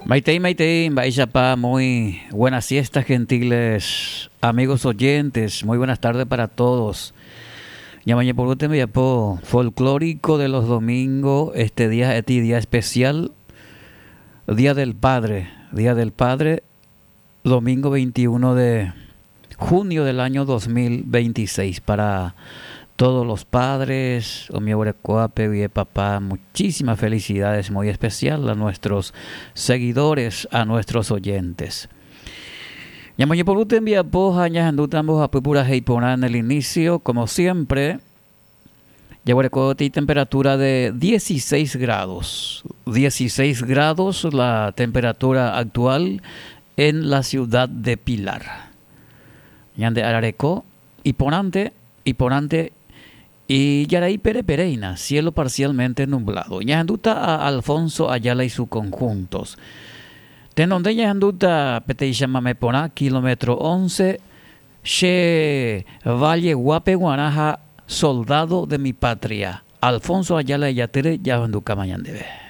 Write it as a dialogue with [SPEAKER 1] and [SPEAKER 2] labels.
[SPEAKER 1] Maitei, maitei, mba'éichapa, muy buenas siestas gentiles amigos oyentes, muy buenas tardes para todos. Ñamañepyrũ tembiapo folclórico de los domingos, este día ha'éti día especial, Día del Padre, Día del Padre, domingo 21 de junio del año 2026 para todos los padres, umi oguerekóvape guie papá, muchísimas felicidades muy especial a nuestros seguidores, a nuestros oyentes. Ñamoñepyrũ tembiapo ha ñahendúta mbohapy purahéi porã en el inicio, como siempre, jaguereko peteĩ temperatura de 16 grados, 16 grados la temperatura actual en la ciudad de Pilar. Ñande arareko iporãnte, iporãnte ijarai pereperéina, cielo parcialmente nublado. Ñahendúta a Alfonso Ayala y su conjuntos. Tenonde ñahendúta peteĩ chamame porã kilómetro 11 che valle guápe guarã ha soldado de mi patria. Alfonso Ayala ijatýre jahendukáma ñandéve.